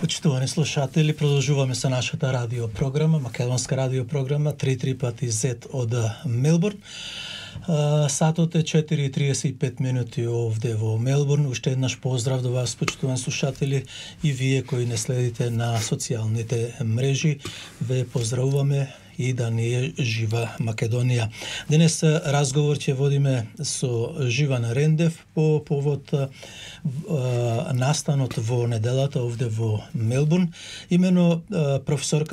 Почитувани слушатели, продолжуваме со нашата радиопрограма, македонска радиопрограма 3 пати Z од Мелбурн. Сатот е 4:35 минути овде во Мелбурн. Уште еднаш поздрав до вас, почитувани слушатели, и вие кои не следите на социјалните мрежи. Ве поздравуваме и да ни е жива Македонија. Денес разговор ќе водиме со Живан Рендев по повод настанот во неделата овде во Мелбурн. Имено професор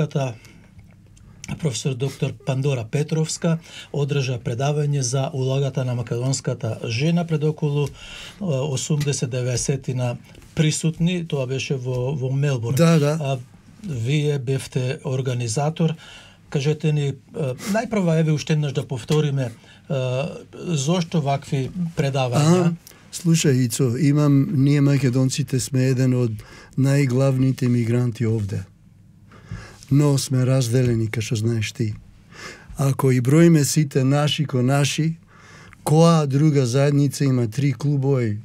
доктор Пандора Петровска одржа предавање за улогата на македонската жена пред околу 80-90 на присутни. Тоа беше во Мелбурн. Да. Вие бевте организатор. Кажете ни, најпрва еве уште еднаш да повториме зошто вакви предавања? Слушај, Ицо, ние македонците сме еден од најглавните мигранти овде. Но сме разделени, како што знаеш ти. Ако и броиме сите наши ко наши, која друга заедница има 3 клубови,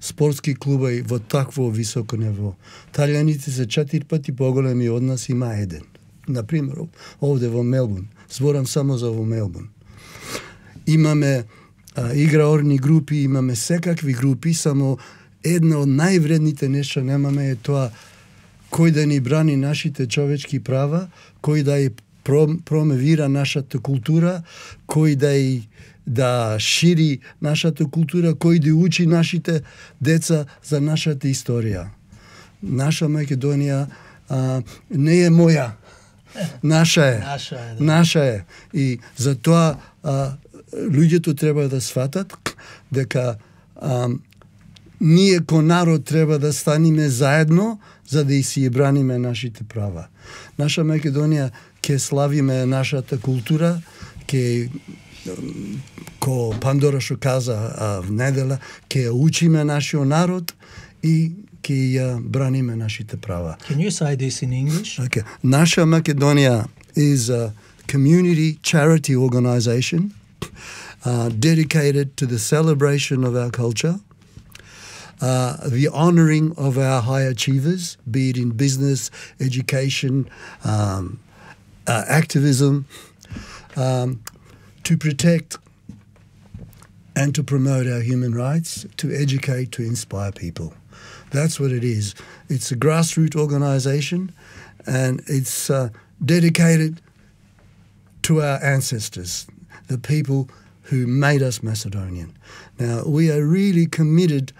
спортски клубови во такво високо ниво? Талијаните се 4 пати поголеми од нас, има еден. Например, овде во Мелбурн. Зборам само за во Мелбурн. Имаме играорни групи, имаме секакви групи, само една од највредните нешта немаме е тоа кој да ни брани нашите човечки права, кој да ја промовира нашата култура, кој да шири нашата култура, кој да учи нашите деца за нашата историја. Наша Македонија не е моја. Наша е. Наша е. И затоа луѓето треба да сватат дека ние ко народ треба да станеме заедно за да и си браниме нашите права. Наша Македонија ќе славиме нашата култура, ко Пандора што каза в недела, ќе учиме нашиот народ и ќе ја браниме нашите права. Can you say this in English? Okay. Naša Makedonija is a community charity organization dedicated to the celebration of our culture, the honoring of our high achievers, be it in business, education, activism, to protect and to promote our human rights, to educate, to inspire people. That's what it is. It's a grassroots organization, and it's dedicated to our ancestors, the people who made us Macedonian. Now, we are really committed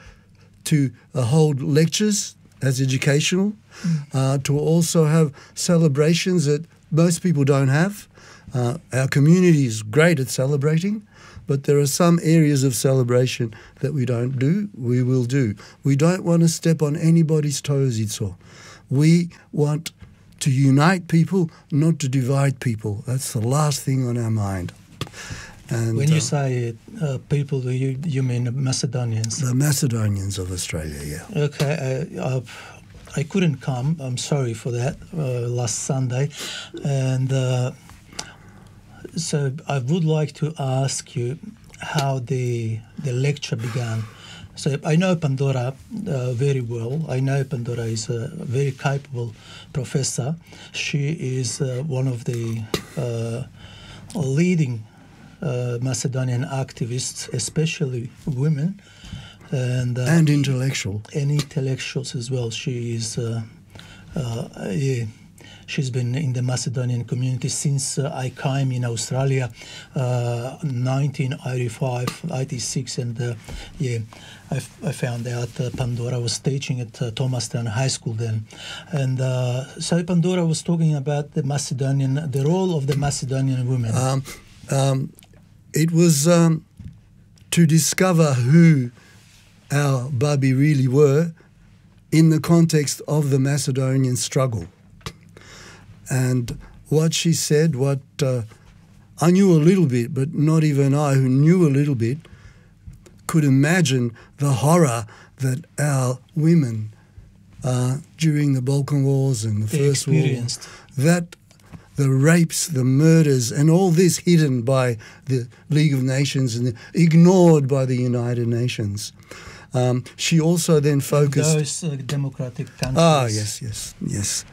to hold lectures as educational, to also have celebrations that most people don't have. Our community is great at celebrating, but there are some areas of celebration that we don't do, we will do. We don't want to step on anybody's toes, Itzo. We want to unite people, not to divide people. That's the last thing on our mind. And when you say people, you mean Macedonians? The Macedonians of Australia, yeah. Okay, I couldn't come, I'm sorry for that, last Sunday. And so I would like to ask you how the lecture began. So I know Pandora very well. I know Pandora is a very capable professor. She is one of the leading Macedonian activists, especially women. And intellectual. And intellectuals as well. She is, she's been in the Macedonian community since I came in Australia, 1985, 86, and I found out Pandora was teaching at Thomastown High School then. And so Pandora was talking about the role of the Macedonian women. It was to discover who our Babi really were in the context of the Macedonian struggle. And what she said, I knew a little bit, but not even I, who knew a little bit, could imagine the horror that our women during the Balkan Wars and the First War, that the rapes, the murders, and all this hidden by the League of Nations and ignored by the United Nations. She also then focused... Those democratic countries. Yes.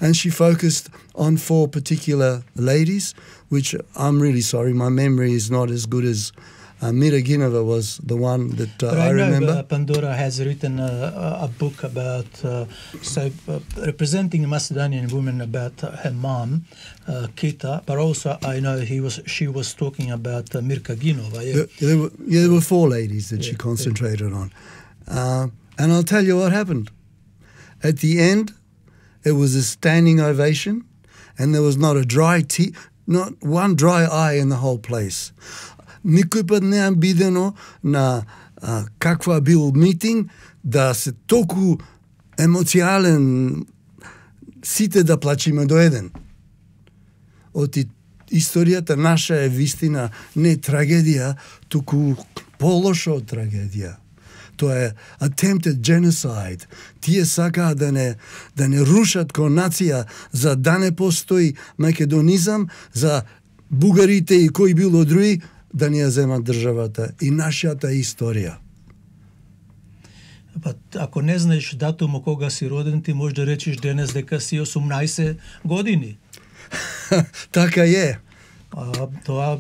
And she focused on 4 particular ladies, which I'm really sorry, my memory is not as good as Mira Gineva was the one that I remember. Know, Pandora has written a book about representing Macedonian women about her mom, Kita, but also I know she was talking about Mirka Ginova. Yeah. There were 4 ladies that she concentrated on. And I'll tell you what happened. At the end, it was a standing ovation, and there was not one dry eye in the whole place. Никој пат неам бидено на каква бил митинг да се толку емоцијален сите да плачиме до еден. Оти историјата наша е вистина не трагедија, туку полошо трагедија. Тоа е attempted genocide. Тие сакаат да не рушат ко нација, за да не постои македонизам, за бугарите и кој било други да ни ја земат државата и нашата историја. Па, ако не знаеш датумот кога си роден, ти можеш да речеш денес дека си 18 години. Така е. Тоа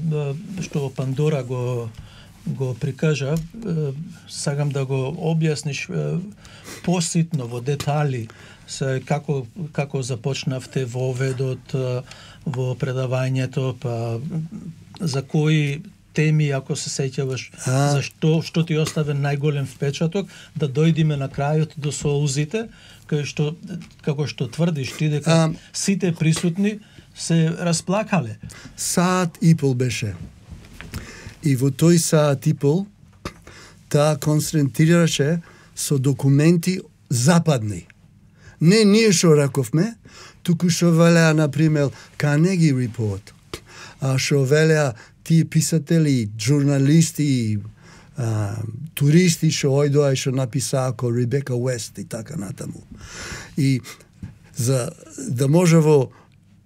што Пандора го прикажа, сакам да го објасниш поситно во детали како започнавте во оведот, во предавањето, па за кои теми, ако се сеќаваш, што ти остави најголем впечаток, да дојдиме на крајот до соузите, како што тврдиш ти дека сите присутни се расплакале. Саат и пол беше. И во тој саат и пол таа концентрираше со документи западни. Не ние што раковме, туку што велеа, например, Carnegie Report, што велеа тие писатели, журналисти, туристи што ојдоа и што написаа ко Ребека Уест и така натаму. И за да може во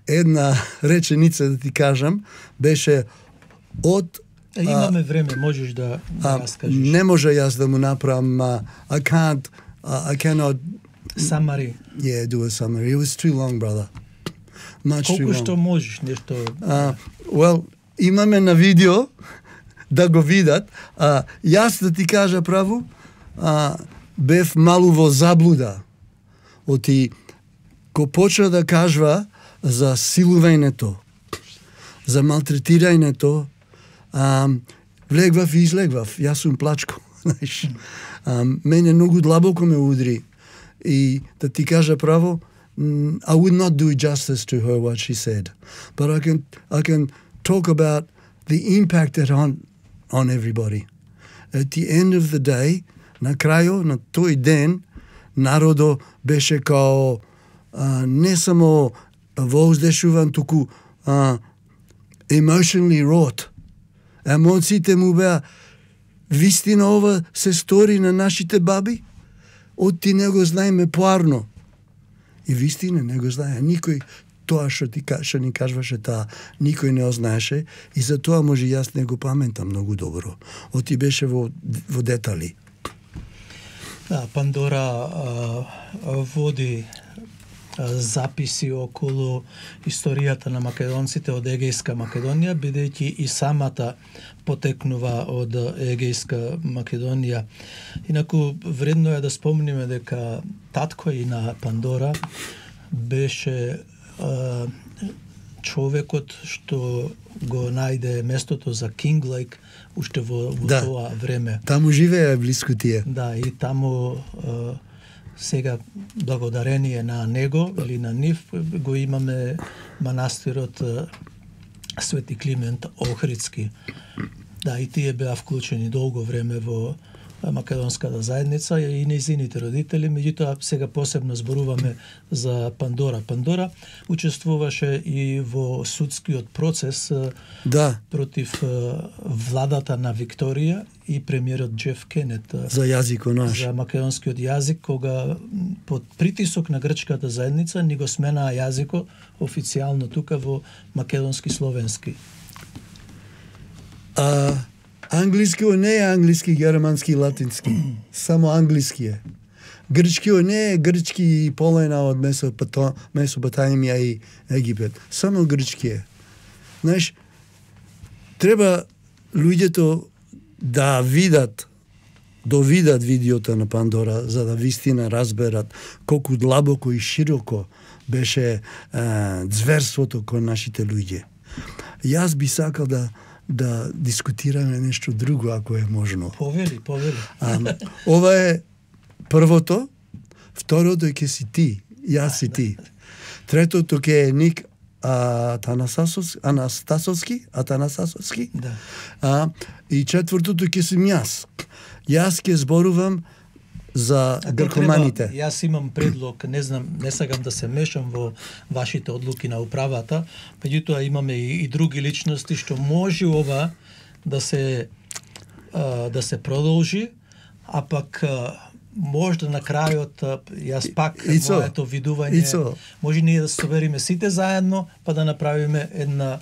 една реченица да ти кажам, беше од имаме време, можеш да раскажеш. Не може јас да му направам I cannot summary. Yeah, do a summary. It was too long, brother. Much too long. Колку што можеш нешто. Well, имаме на видео да го видат. Јас да ти кажа право, бев малу во заблуда. Оти ко почна да кажва за силувањето, за малтретирањето, влегвав и излегвав. Јас сум плачко, знаеш. Мене многу длабоко ме удри. И да ти кажа право, I would not do justice to her what she said, but I can talk about the impact it on everybody. At the end of the day, на крајо на тој ден, народо беше као не само воздешуван, туку emotionally wrought. Емоциите му беа, вистина ова се стори на нашите баби? Од ти не го знаеме поарно. И вистина не го знае. Никој тоа што ни кажваше таа, никој не ознаеше и за тоа може јас не го паметам многу добро. Од ти беше во детали. Да, Пандора води записи околу историјата на македонците од Егејска Македонија, бидејќи и самата потекнува од Егејска Македонија. Инаку, вредно е да спомниме дека таткој на Пандора беше човекот што го најде местото за Кинг Лейк уште во тоа време. Таму живее блиску тие. Да, и таму сега благодарение на него или на нив го имаме манастирот Свети Климент Охридски. Да, и тие беа вклучени долго време во македонската заедница и нејзините родители, меѓутоа сега посебно зборуваме за Пандора. Пандора учествуваше и во судскиот процес против владата на Викторија и премиерот Джеф Кенет за јазикот наш, за македонскиот јазик, кога под притисок на грчката заедница ни го сменаа јазикот официјално тука во македонски словенски. Англискиот не е англиски, германски, латински. Само англиски е. Грчкиот не е грчки и половина од Месопотамија и Египет. Само грчки е. Знаеш, треба луѓето да видат видеото на Пандора, за да вистина разберат колку длабоко и широко беше зверството кон нашите луѓе. Јас би сакал да дискутираме нешто друго, ако е можно. Повели. Ова е првото, второто ќе си ти, јас си ти. Третото ќе е Ник Атанасовски. Да. И четвртото ќе сум јас. Јас ќе зборувам за гркоманите. Јас имам предлог, не знам, не сакам да се мешам во вашите одлуки на управата, меѓутоа имаме и други личности што може ова да се продолжи, а пак можда на крајот јас пак моето видување, може ние да се собериме сите заедно, па да направиме една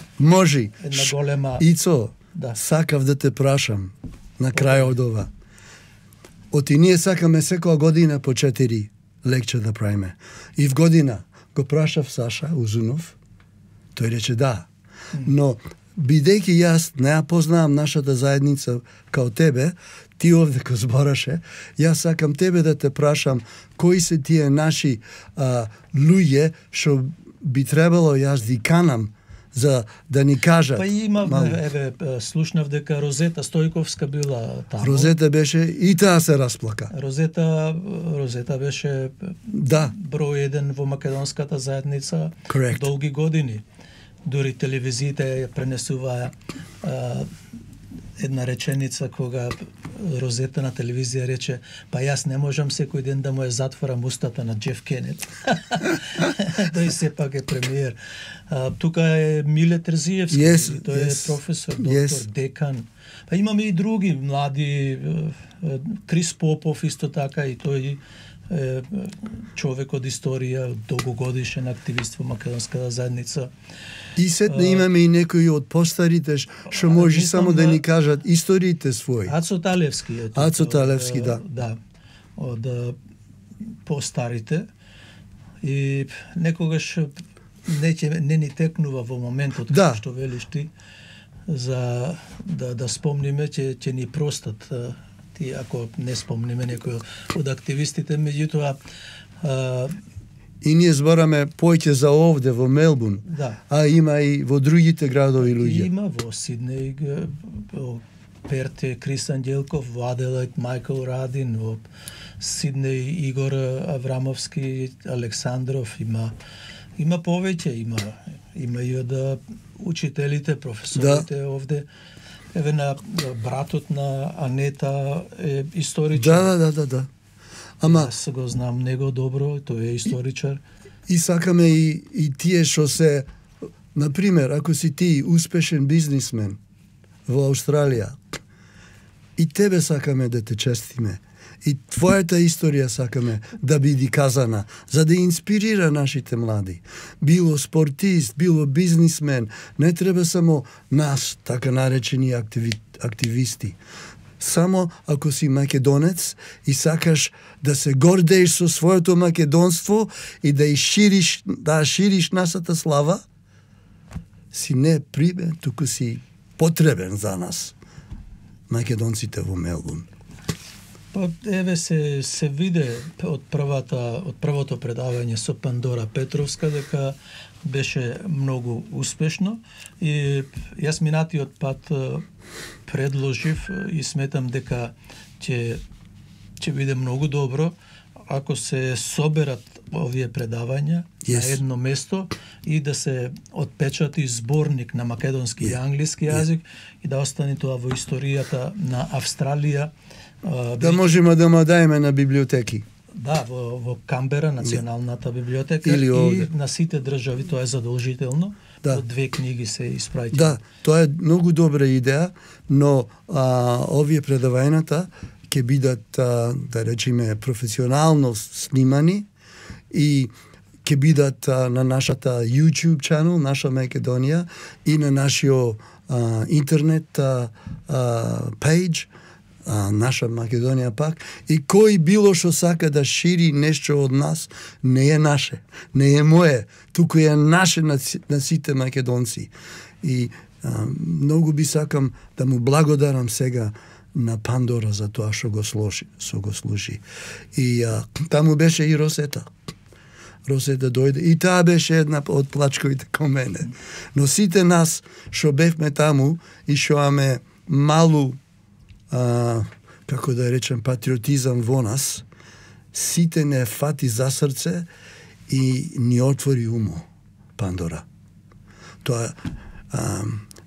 голема... Ицо, сакав да те прашам на крај од ова. Оти ние сакаме секоја година по 4 лекче да правиме. И в година го прашав Саша Узунов, тој рече да. Но бидејќи јас не ја познавам нашата заедница као тебе, ти овде ко збораше, јас сакам тебе да те прашам кои се тие наши луѓе што би требало јас да канам за да ни кажат. Па има, слушнав дека Розета Стојковска била таму. Розета беше и таа се расплака. Розета беше број еден во македонската заедница долги години. Дури телевизиите ја пренесуваа една реченица кога Розета на телевизија рече: па јас не можам секој ден да му ја затворам устата на Джеф Кенет. Тој сепак е премиер. Тука е Миле Терзиевски, тој е професор, доктор, декан. Па имаме и други млади, Крис Попов исто така, и тој е човек од историја, долгогодишен активист во македонската заедница. И сетне имаме и некои од постарите што може само да ни кажат историите своји. Ацо Талевски е. Ацо Талевски, да. Да, од постарите. И некогаш не ни текнува во моментот што велиш ти, за да спомниме, ќе ни простат ти ако не спомниме некој од активистите, меѓутоа и ние збораме поќе за овде во Мелбурн, а има и во другите градови луѓе. Има во Сиднеј, во Перт Крис Анđелков, во Аделаид Мајкл Радин, во Сиднеј Игор Аврамовски, Александров, има повеќе, има и од учителите, професорите овде. Еве на братот на Анета е историчар. Да. Ама јас го знам него добро, тој е историчар. И сакаме и тие што се, например, ако си ти успешен бизнисмен во Австралија, и тебе сакаме да те честиме. И твојата историја сакаме да биде казана, за да инспирира нашите млади. Било спортист, било бизнисмен, не треба само нас, така наречени активисти. Само ако си македонец и сакаш да се гордееш со своето македонство и да шириш нашата слава, си не примен, туку си потребен за нас, македонците во Мелбурн. Па еве се виде од првото предавање со Пандора Петровска дека беше многу успешно, и јас минатиот пат предложив и сметам дека ќе биде многу добро ако се соберат овие предавања на едно место и да се отпечати зборник на македонски и англиски јазик и да остане тоа во историјата на Австралија. Да можеме да му даеме на библиотеки. Да, во Камбера, националната библиотека, и на сите држави тоа е задолжително. Од 2 книги се испраќа. Да, тоа е многу добра идеја, но овие предавањата ќе бидат, да речеме, професионално снимани и ќе бидат на нашата YouTube channel, наша Македонија, и на нашиот интернет пејдж, наша Македонија пак, и кој било што сака да шири нешто од нас, не е наше, не е мое, туку е наше на сите македонци. И многу би сакам да му благодарам сега на Пандора за тоа што го слуши. И таму беше и Росета. Росета дојде и таа беше една од плачковите кон мене. Но сите нас што бевме таму и што имаме малу како да речем патриотизам во нас, сите не фати за срце и ни отвори умо Пандора. Тоа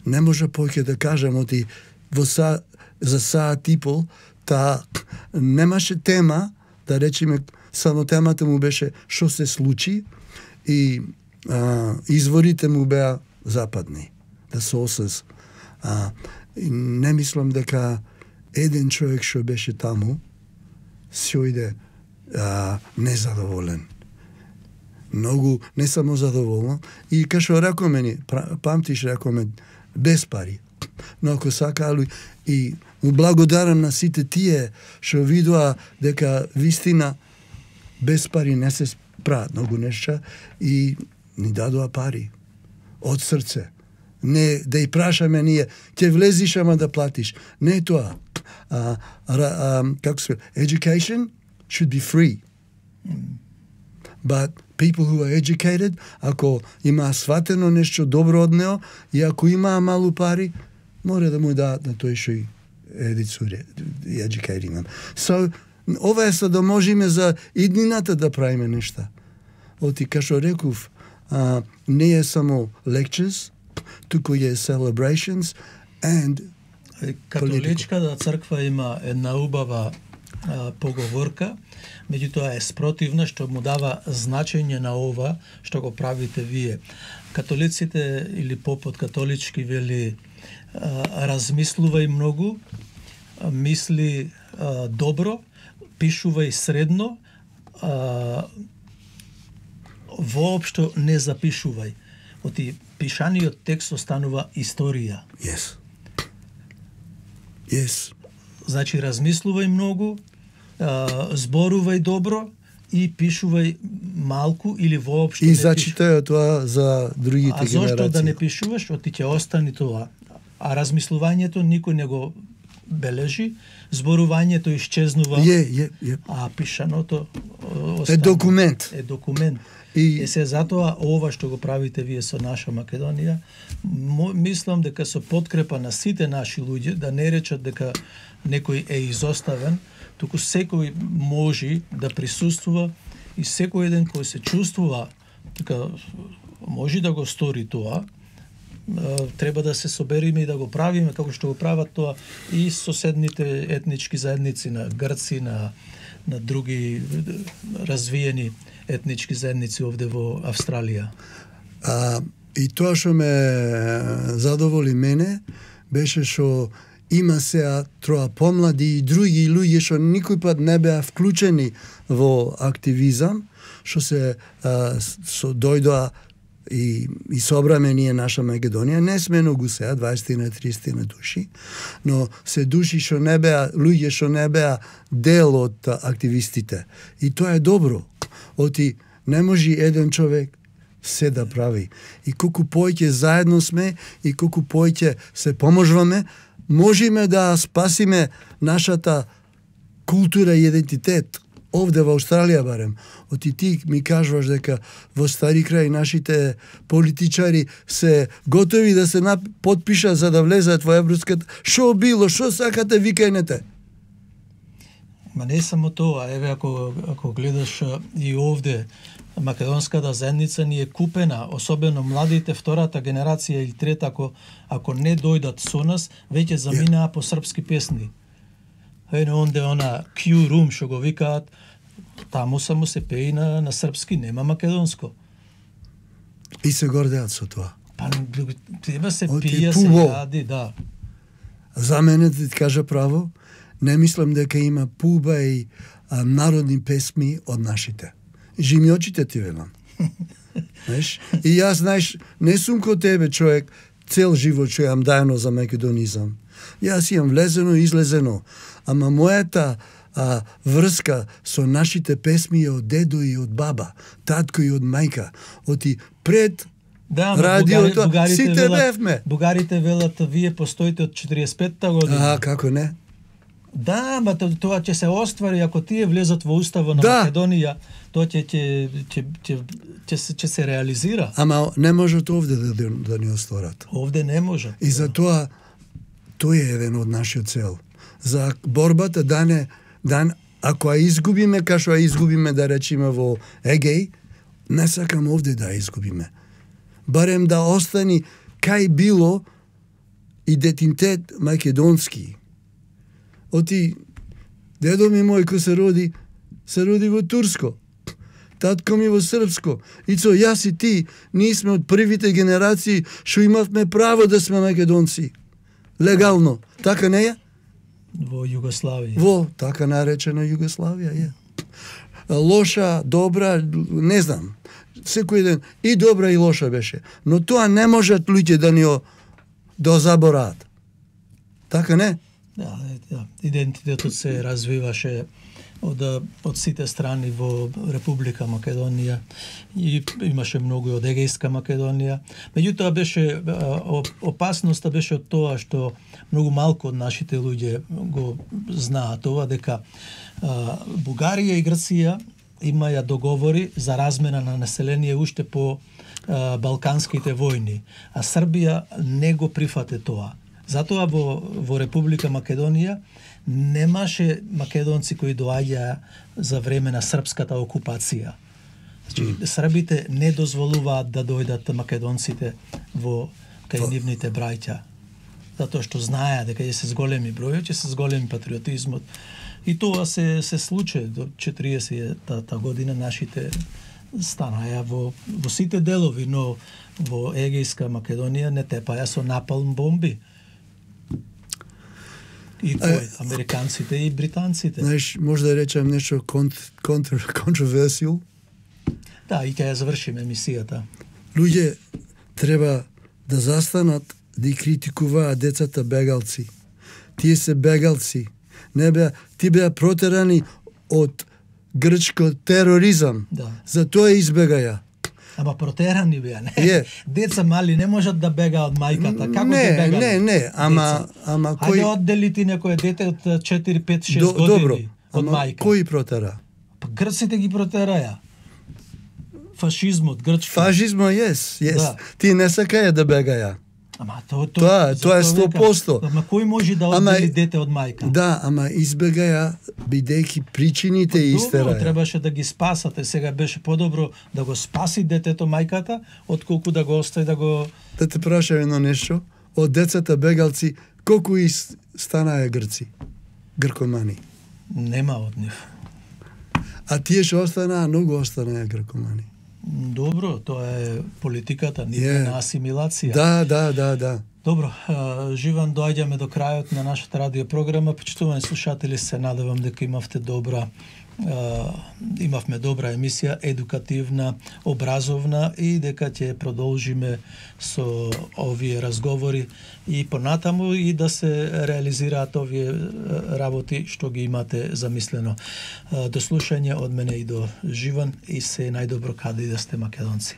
не може повеќе да кажам, оти за саат и пол, та немаше тема, да речеме, само темата му беше што се случи и изворите му беа западни, the sources. Не мислам дека еден човек што беше таму си ојде незадоволен. Многу, не само задоволен. И кашо рекоме ни, памтиш рекоме, без пари. Но ако сакалу и му благодарам на сите тие што видоа дека вистина без пари не се прават многу нешта и ни дадоа пари од срце. Не да и прашаме ние, ќе влезиш ама да платиш. Не е тоа. Како се, education should be free. But people who are educated, ако има сватено нешто добро од него и ако има малу пари, мора да му дадат на тој што и едицуре, educating them. So, ова е за да можеме за иднината да правиме нешта. Оти, кашо реков, не е само lectures, туку е celebrations and Католичката црква има една убава поговорка, меѓутоа е спротивна, што му дава значење на ова што го правите вие. Католиците или попот католички вели размислувај многу, мисли добро, пишувај средно, воопшто не запишувај. Оти пишаниот текст останува историја. Yes. Yes. Значи размислувај многу, зборувај добро и пишувај малку или воопшто не пишувај. И зачитај тоа за другите генерации. А зошто да не пишуваш, оти ќе остани тоа. А размислувањето никој не го бележи, зборувањето исчезнува, а пишаното остана. Е документ. Е документ. И се затоа ова што го правите вие со наша Македонија, мислам дека со подкрепа на сите наши луѓе, да не речат дека некој е изоставен, туку секој може да присуствува и секој еден кој се чувствува дека може да го стори тоа, треба да се собериме и да го правиме како што го прават тоа и соседните етнички заедници на Грци, на други развиени етнички заедници овде во Австралија. И тоа што ме задоволи мене беше што има сега троа помлади и други луѓе што никој пат не беа вклучени во активизам, што се дојдоа и собраме ние наша Македонија. Не сме многу сега, 20-30 души, но се души што не беа, луѓе што не беа дел од активистите. И тоа е добро. Оти не може еден човек се да прави. И колку повеќе заедно сме и колку повеќе се поможуваме, можеме да спасиме нашата култура и идентитет. Овде во Австралија барем. Оти ти ми кажуваш дека во Стари крај нашите политичари се готови да се подпишат за да влезат во Европската. Шо било, шо сакате, викајнете. Ма не само тоа, еве ако гледаш и овде македонската заедница ни е купена, особено младите, втората генерација или трета, ако не дојдат со нас, веќе заминаа по српски песни. Онде она Q-room што го викаат, таму само се пее на српски, нема македонско. И се гордеат со тоа. Па треба се пие, се јади, да. За мене, да ти кажа право, не мислам дека има пуба и народни песми од нашите. Жими очите ти велам. Знаеш? И јас, знаеш, не сум ко тебе човек, цел живот што јам дајано за македонизам. Јас имам влезено и излезено, ама мојата врска со нашите песми е од дедо и од баба, татко и од мајка, оти пред радиото, сите бевме. Бугарите велат, вие постоите од 45-та година. Како не? Да, ма тоа ќе се оствари ако тие влезат во уставот на Македонија, тоа ќе се реализира. Ама не можат овде да ни остварат. Овде не можат. И затоа тој е еден од нашиот цел. За борбата ако ја изгубиме, кај што ја изгубиме да речеме во Егеј, не сакам овде да ја изгубиме. Барем да остани кај било идентитет македонски. Оти дедо ми мој кој се роди во турско. Татко ми во српско. Ицо, јас и ти, ние сме од првите генерации што имавме право да сме македонци. Легално. Така не е? Во Југославија. Во така наречена Југославија е. Лоша, добра, не знам. Секој ден и добра и лоша беше. Но тоа не можат луѓе да ни забораат. Така не? Да. Идентитетот се развиваше од сите страни во Република Македонија и имаше многу од Егејска Македонија. Меѓутоа беше опасноста беше од тоа што многу малку од нашите луѓе го знаат ова, дека Бугарија и Грција имаја договори за размена на население уште по балканските војни, а Србија не го прифате тоа. Затоа во Република Македонија немаше македонци кои доаѓаа за време на српската окупација. Значи, србите не дозволуваат да дојдат македонците кај нивните браќа. Затоа што знаеа дека ќе се зголеми бројот, ќе се зголеми патриотизмот. И тоа се случи до 40-та година нашите станаја во сите делови, но во Егејска Македонија не тепаја со напалм бомби. И кој? Американците и британците. Знаеш, може да речем нешто controversial? Да, и ќе ја завршиме емисијата. Луѓе треба да застанат да ги критикуваат децата бегалци. Тие се бегалци. Ти беа протерани од грчко тероризам. Да. Затоа избегаја. Ама протерани беа, не? Деца мали не можат да бегаат од мајката. Како ќе бегаат? Не, ама кој... Хајде оддели ти некој дете од 4, 5, 6 години добро, од мајка. Кој протера? Па грците ги протераја. Фашизмот, грчко. Фашизмо, да. Ти не сакаја да бегаја. Ама тоа е 100%. Ама кој може да оддели дете од мајка? Да, ама избегаја бидејќи причините истераја. Добро, требаше да ги спасате. Сега беше подобро да го спаси детето мајката, отколку да го остави да го... Да те прашам едно нешто. Од децата бегалци, колку станаа грци? Гркомани? Нема од нив. А тие што останаа, многу останаа гркомани. Добро, тоа е политиката, на асимилација. Да. Добро, Живан, доаѓаме до крајот на нашата радиопрограма. Почитувани слушатели, се надевам дека имавме добра емисија, едукативна, образовна и дека ќе продолжиме со овие разговори и понатаму и да се реализираат овие работи што ги имате замислено. До слушање од мене и до Живан и се најдобро каде и да сте македонци.